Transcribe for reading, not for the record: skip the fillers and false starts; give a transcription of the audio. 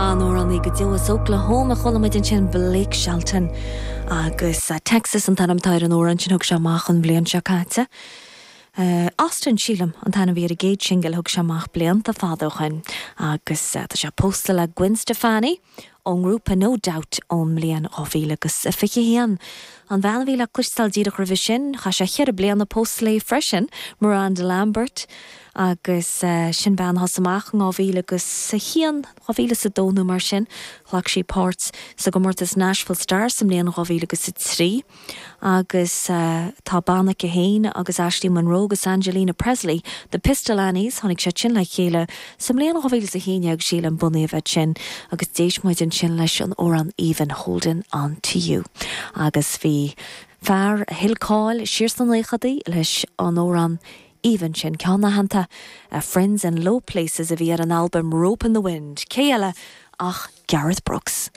An-amhránaí go deo as Oklahoma a chuala muid ansin Blake Shelton agus Texas an t-ainm atá ar an amhrán sin thug sé amach an bhliain seo caite. Austin, sílim, an t-ainm a bhí ar an gcéad singil a thug sé amach blianta fada ó shin agus tá sé pósta le Gwen Stefani ón ngrúpa No Doubt ón mbliain 2021. An bhean a bhí le cloisteáil díreach roimhe sin, chaith sé cheithre bliana pósta léi freisin, Miranda Lambert, agus sin bean a thosaigh amach in 2001, 2002 nó mar sin. Ghlac sí páirt sa gcomórtas Nashville Stars sa mbliain 2003. Agus tá banna aici féin agus Ashley Monroe agus Angelina Presley, The Pistol Annies, tháinig siad sin le chéile sa mbliain 2011, sílim, bunaíodh iad sin agus d'éist muid ansin leis an amhrán aoibhinn Holding On To You. Agus bhí fear a thuill cáil siar sna naochadaí leis an amhrán aoibhinn sin, ceann aitheanta, Friends in Low Places a bhí ar an albam Rope in the Wind. Cé eile ach Garth Brooks.